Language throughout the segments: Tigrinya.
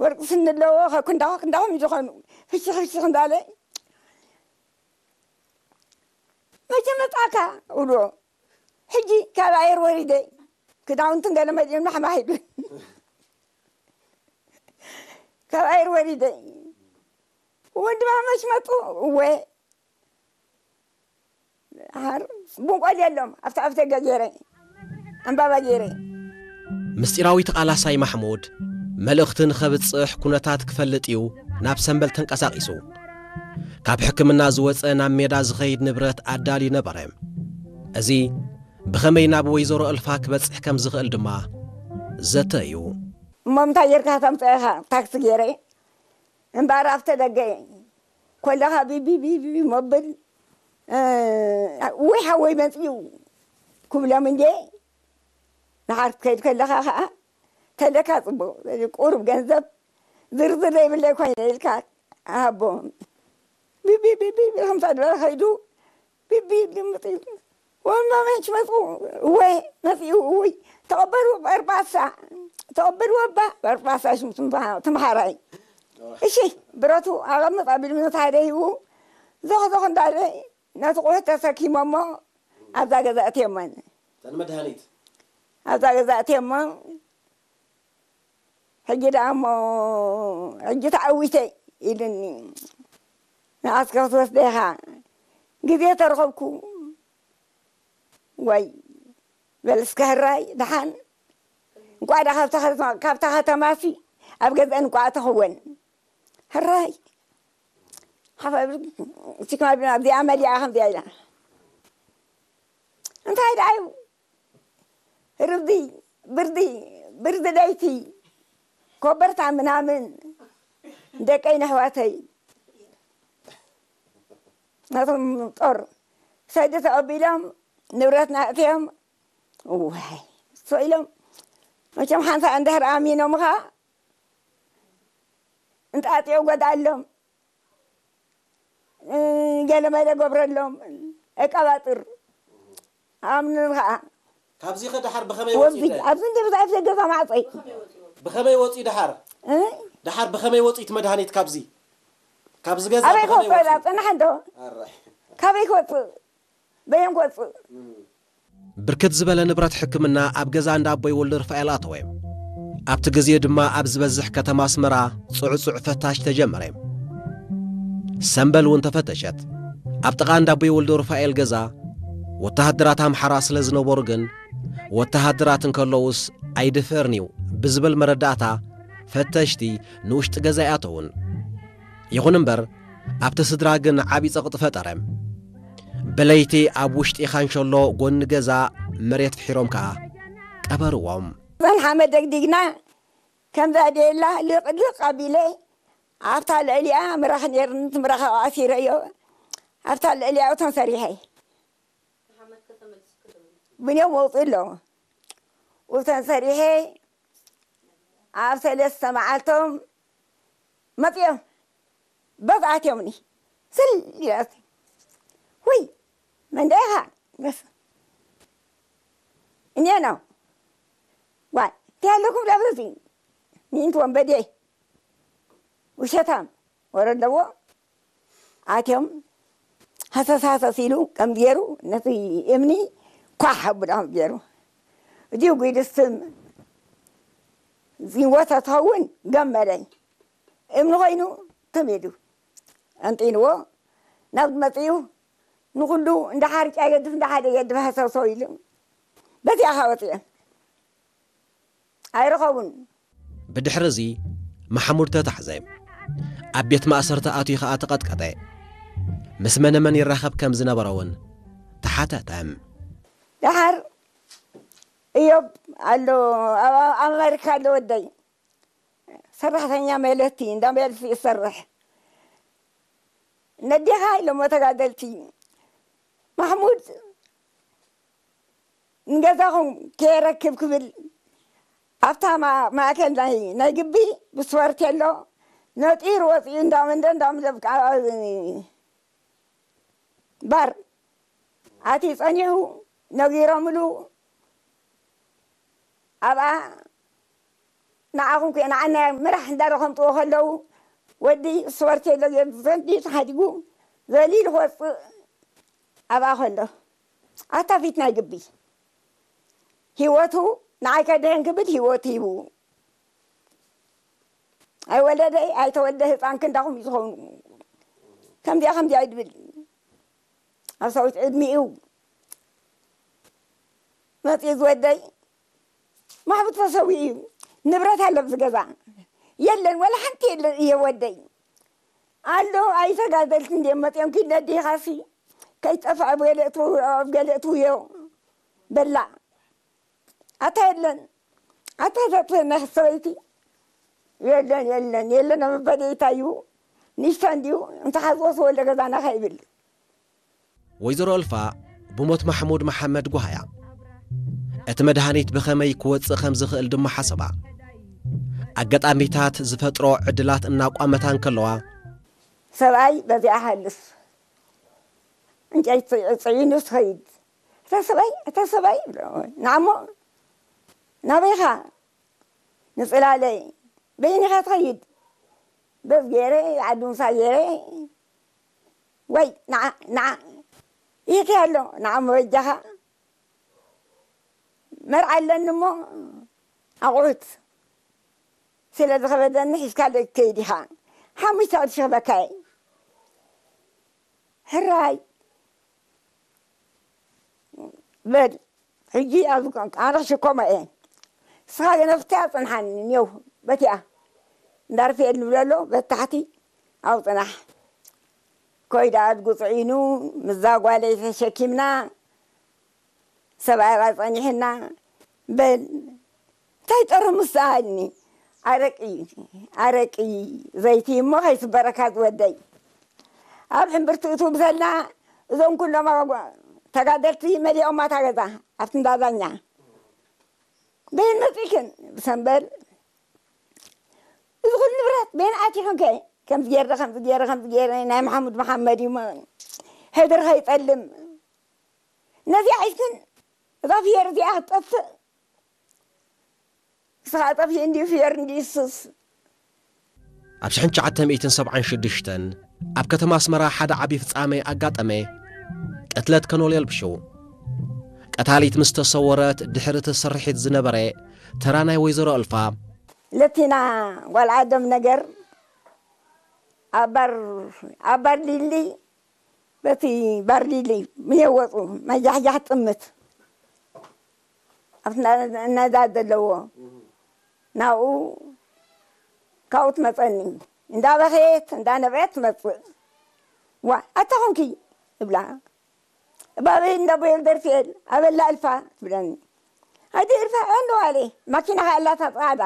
ወርቂ ስኒ ኣለዎ፣ ከኩንዳኹ ክንዳኹም እዩ ዝኾኑ። ፍሽኽ ፍሽኽ እንዳለ፣ "መቼ መጻእካ?" እብሎ። "ሕጂ ካብ ኣየር ወሪደ፣ ክዳውንትን ገለ መሊኦም ማሕማሕ ኢሉ። ካብ ኣየር ወሪደ፣ ወዲ ማመሽ መጡ?" "እወ፣ ሓር ቡንቆል የሎም፣ ኣብቲ ኣፍደገ ገይረ፣ ዕምባባ ገይረ." ምስጢራዊ ተቓላሳይ ማሕሙድ መልእኽቲ ንኸብጽሕ ኩነታት ክፈልጥ እዩ ናብ ሰምበል ተንቀሳቒሱ። ካብ ሕክምና ዝወጸ ናብ ሜዳ ዝኸይድ ንብረት ኣዳልዩ ነበረ። እዚ ብኸመይ ናብ ወይዘሮ እልፋ ክበጽሕ ከም ዝኽእል ድማ ዘተ እዩ። "እሞ እንታይ ጌርካ ተምጽኦ ኢኻ?" "ታክሲ ገይረ እምበኣር ኣብተ ደገ ከለኻ ቢቢ ቢቢ መብል፣ እ፣ ወይ ሓወይ መጽዩ ክብሎም እንዴ፣ ንሓር ክትከይድ ከለኻ ኸዓ ተለካ ጽቡቕ ቁሩብ ገንዘብ ዝርዝር ዘይብለይ ኮይነ ኢልካ ሃቦ። ቢቢ ቢቢ ከምታ ድበለ ከይዱ ቢቢ ልምጥ ኢሉ። ወማ መች መጽኡ?" "እወ መጽኡ፣ እውይ ተቐበሉ በርባሳ፣ ተቐበሉ ኣባ በርባሳ ሽሙ ትምሃ-፣ ትምሃራይ። እሺ ብረቱ ኣቐምጥ" ኣቢሉ ምስ ሓደ ሂቡ ዞኽ ዞኽ እንዳለ ነቲ ቁሑት ተሰኪሞሞ ኣብዛ ገዛ እትዮመን። እተን መድሃኒት ኣብዛ ገዛ እትዮሞ፣ "ሕጂ ደኣ እሞ፣ ሕጂ ተዓዊተ" ኢሉኒ። "ንዓስከ ክትወስደ ኢኻ፣ ግዜ ተረኸብኩ። ወይ በል እስከ ህራይ ደሓን፣ እንቋዕ ደኣ ካብታ ከተማ፣ ካብታ ከተማሲ ኣብ ገዝአን እንቋዕ ተኽወን። ህራይ ሓፈብ ሲክማ ቢና ኣብዚኣ መሊኣ ከምዚኣ ኢላ። እንታይ ደኣ እዩ?" ርዚ፣ ብርዚ፣ ብርዚ ለይቲ፣ ኮበርታ ምናምን፣ ደቀይ ነሕዋተይ፣ ናቶም ጦር ሰዲ ተቐቢሎም፣ ንብረትና እትዮም፣ ዋይ፣ እሶ ኢሎም፣ መቸም ሓንሳ እንድሕር ኣሚኖምኻ፣ እንጣጢዮ ጎድኣሎም። እ፣ ገለመለ ገብረሎም፣ እቀባጥር፣ ኣምንን ኸዓ ካብዚ ኸ ደሓር ብኸመይ ወፂኡ ወብዚ፣ ደ-? ኣብዚ እንደ ብዛዕፍ ገዛ ማዕፀይ። ብኸመይ ወፂኡ ደሓር? እ? ደሓር ብኸመይ ወፂኡ እቲ መድሃኒት ካብዚ? ካብዚ ገዛ ኣበይ ብኸመይ ክወፅእ ወፂኡ? ዳ ፅናሕ እንዶ? ኣራይ። ካበይ ክወፅእ? በየን ክወፅእ? ብርክት ዝበለ ንብረት ሕክምና ኣብ ገዛ እንዳ ኣቦይ ወልደ ሩፋኤል ኣተወ። ኣብቲ ግዜ ድማ ኣብ ዝበዝሕ ከተማ ኣስመራ ጽዑጽዕ ፈታሽ ተጀመረ። ሰምበል እውን ተፈተሸት። ኣብ ጥቓ እንዳ ኣቦይ ወልደ ሩፋኤል ገዛ ወተሃደራት ኣምሓራ ስለ ዝነበሩ ግን፣ ወተሃደራት እንከለዉስ ኣይድፈርን'ዩ ብዝብል መረዳእታ ፈተሽቲ ንውሽጢ ገዛ ኣይኣተዉን። ይኹን እምበር፣ ኣብቲ ስድራ ግን ዓቢ ጸቕጢ ፈጠረ። ብለይቲ ኣብ ውሽጢ ካንሸሎ ጎኒ ገዛ መሬት ፍሒሮም ከኣ ቀበርዎም። እዘን ሓመድ ደግዲግና ከምዛ ደላ ልቕልቕ ኣቢለ ኣብታ ልዕሊኣ ምራኽ ነይርኒ፣ እቲ ምራኽ ኣሲረዮ ኣብታ ልዕሊኣ እቶን ሰሪሐ። ብንዮም መውፅእ ኣለዎ። እቶን ሰሪሐ ኣብ ሰለስተ መዓልቶም መፅኦም። በዚ ኣትዮምኒ። ስል ኢላስ። ውይ፣ መን ዳ ኢኻ? በስ። እኔ ነው። ዋይ፣ እንታይ ኣለኩም ዳ በዚ? ሚንት ወንበዴ። ውሸታም። ወረ ኣለዎ። ኣትዮም ሃሰስ ሃሰስ ኢሉ ከም ገይሩ ነቲ እምኒ ኳሕ ኣቡላ ከም ገይሩ። እዚኡ ጒድስትም ዝወተ ትኸውን ገመለይ። እምኒ ኮይኑ ትም ኢሉ። ኣንጢንዎ ናብ መፅኡ ንኹሉ እንዳ ሓርጫ ይገድፍ፣ እንዳ ሓደ ይገድፍ ሃሰሶ ኢሉ። በዚኣ ኸዓ ወፅኦም። ኣይረኸቡን። ብድሕሪ እዚ ማሕሙድ ተታሕዘ። ኣብ ቤት ማእሰርቲ ኣትዩ ኸኣ ተቐጥቀጠ። ምስ መነመን ይራኸብ ከም ዝነበረ እውን ተሓተተ። ደሓር እዮብ ኣሎ፣ ኣብ፣ ኣብ ኣሜሪካ ኣሎ ወደይ። ሰራሕተኛ መለቲ፣ እንዳ መለቲ ይሰርሕ። ነዴኻ ኢሎሞ ተጋደልቲ። ማሕሙድ ንገዛኹም ከየረክብ ክብል ኣብታ ማ-፣ ማእከል ናይ፣ ናይ ግቢ ብስፖርት ኣሎ ነጢሩ ወፂኡ እንዳመንደ እንዳምለብ ባር ኣትዩ ጸኒሑ ነጊሮምሉ ኣብኣ ንዓኹም ከ ንዓና ምራሕ እንዳረኸምጥዎ ከለዉ ወዲ ስፖርት የሎ ዘንዲ ተሓዲጉ ዘሊሉ ክወፅእ ኣብኣ ከሎ ኣታ ፊት ናይ ግቢ ህይወቱ ንዓይ ከድሕን ክብል ህይወቱ ሂቡ ኣይወለደ ኣይተወልደ ህፃን ክንዳኹም እዩ ዝኸውን። ከምዚኣ ከምዚኣ ይድብል ኣብ ሰዊት ዕድሚኡ መፅኡ ዝወደይ ማሕቡት ተሰዊኡ እዩ። ንብረት ኣሎ ኣብዚ ገዛ የለን፣ ወላ ሓንቲ የለን እየ ወደይ ኣሎ። ኣይተጋደልቲ እንድዮም መፅኦም ኪድ ነዲኻሲ ከይጠፍዐ ኣብ ገለ እትው- ኣብ ገለ እትውዮ በላ ኣታ የለን ኣታ ዘጥፈና ሰበይቲ የለን የለን የለን ኣብ በደይታ እዩ ንሽታ እንዲዩ እንተሓዝወስ ወለ ገዛና ከይብል ወይዘሮ እልፋ ብሞት ማሕሙድ መሓመድ ጓህያ እቲ መድሃኒት ብኸመይ ክወፅእ ከም ዝኽእል ድማ ሓሰባ። ኣጋጣሚታት ዝፈጥሮ ዕድላት እናቋመታ እንከለዋ ሰብኣይ በዚኣ ሃልፍ እንጨይቲ ፅዒኑ ትኸይድ እታ ሰብኣይ እታ ሰብኣይ ይብሎ ንዓሞ ናበይኻ ንፅላለይ በይኒኻ ትኸይድ በዝ ገይረ ዓዲ ምሳ ገይረ ወይ ንዓ ንዓ ይህከ ኣሎ ንዓሞ በጃኻ መርዓ ኣለኒ እሞ ኣቑሑት ስለ ዝኸበደኒ ሒዝካ ደይ ትከይድ ኢኻ ሓሙሽተ ቅርሺ ክበካ እየ ሕራይ በል ሕጂ ኣብዚ ኣነ ክሽከሞ እየ ንስኻ ገነፍትያ ፅንሓኒ ኔው በቲኣ እንዳርፍኤል ንብለሎ በታሕቲ ኣብ ፅናሕ ኮይዳ ኣድጉ ፅዒኑ ምዛ ጓለይ ተሸኪምና ሰብኣይ ኣብኣ ጸኒሕና በል እንታይ ጠርሙስ ደኣልኒ ኣረቂ ኣረቂ ዘይቲ እሞ ከይስበረካ ዝወደይ ኣብ ሕምብርቲ እቱ ብሰልና እዞም ኩሎም ተጋደልቲ መሊኦማ እታ ገዛ ኣብቲ እንዳዛኛ በይን መፂእክን ብሰንበል እዚ ኩሉ ንብረት በይን ኣቲኽን ከ ከምዚ ገይረ ከምዚ ገይረ ከምዚ ገይረ ናይ መሓሙድ መሓመድ እዩ ሕድር ከይጠልም ነዚኣ ሒዝክን እዛ ፍየር እዚኣ ክትጠፍእ ንስኻ ጠፊኡ እንዲዩ ፍየር እንዲዩ ስስ ኣብ ሽሕን ትሽዓተ ሚእትን ሰብዓን ሽዱሽተን ኣብ ከተማ ኣስመራ ሓደ ዓቢ ፍጻመ ኣጋጠመ። ቅትለት ከኖል የልብሹ። ቀታሊት ምስ ተሰወረት ድሕሪ እቲ ስርሒት ዝነበረ ተራ ናይ ወይዘሮ እልፋ ለቲና ጓል ዓዶም ነገር ኣባር ኣባር ሊሊ በቲ ባርሊሊ ምየወፁ መጃሕጃሕ ጥምት ኣብቲ ነዛ ዘለዎ ናብኡ ካብኡ ትመፀኒ እንዳበኸየት እንዳነብዐት ትመፅእ ዋ ኣታ ኮንኪ እብላ እባበይ እንዳቦየል ደርፊኤል ኣበላ እልፋ ትብለኒ ኣዲ እልፋ ዕንዋሌ ማኪና ከኣላታ ፃዕዳ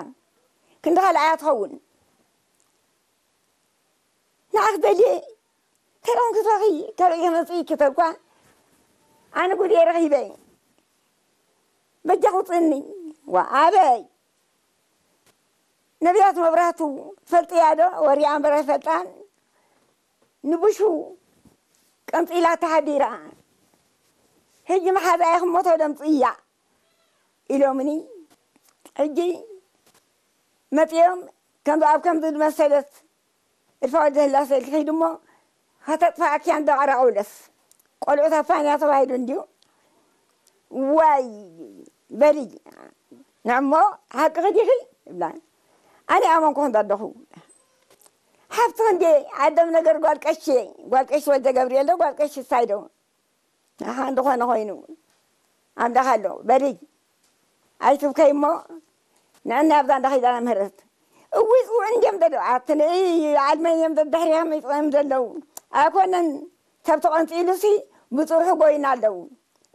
ክንዲ ካልኣያ ትኸውን ንዓኽ ደልየ ተረን ክተኺ ተርእዮ መፅኢኪ ተኳ ኣነ ጉድየ ረኺበ በጃ ውፅኒ ዋ ኣበይ ነቢያት መብራህቱ ትፈልጥያ ዶ ወሪያ እምበር ኣይፈልጣን ንብሹ ቀንፂላ ተሃዲራ ሕጂ መሓዛያ ክሞቶ ደምፅያ ኢሎምኒ ሕጂ መፂኦም ከምዚ ኣብ ከምዚ ዝመሰለት እልፋ ወልደ ህላሴ ልክሒድ እሞ ከተጥፋእኪያ እንዶ ኣራቑለስ ቆልዑት ኣፋንያ ተባሂሉ እንድዩ ዋይ በሊ ንዕሞ ሓቅኺ ዲኺ ይብላ ኣነ ኣመንኩ ክንዶ ኣለኹ ሓፍቲ ክንዴ ዓዶም ነገር ጓል ቀሺ ጓል ቀሺ ወልደ ገብርኤል ዶ ጓል ቀሺ ሳይዶ ንሓ እንድኾነ ኮይኑ ኣምላኽ ኣሎ በሊ ኣይትብከይ እሞ ንዕና ኣብዛ እንዳ ኺዳነ ምህረት እውይ ፅውዕ እንዲዮም ዘለዉ ኣቲ ንእይ ዓልመን እዮም ደድሕሪኻ መፅኦም ዘለዉ ኣይኮነን ሰብ ተቐንፂሉሲ ብፅርሑ ጎይና ኣለዉ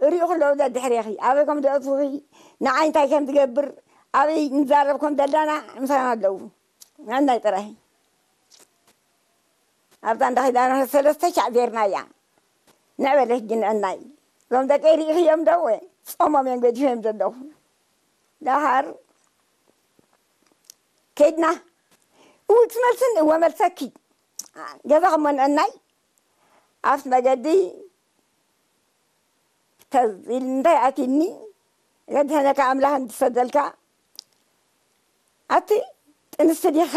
እሪኡ ክለዉ ደድሕሬኺ ኣበይ ከም ደእትውኺ ንዓይ እንታይ ከም ዝገብር ኣበይ ንዛረብ ከም ዘለና ምሳና ኣለዉ ንዕናይ ጥራይ ኣብዛ እንዳ ኺዳነ ሰለስተ ሻዕ ዜርናያ ንዕበለ ሕጂ ንዕናይ እዞም ደቀይ ርኢኽዮም ዶ ጾሞም እዮም ገዲፎም ዘለኹ ደሃር ከይድና እውት መልስን እወ መልሰኪ ገዛ ከሞንአናይ ኣብቲ መገዲ ተዝ ኢል እንታይ ኣቲኒ ዘድሐነካ ኣምላኽ እንትሰደልካ ኣቲ ጥንስቲ ዲኻ?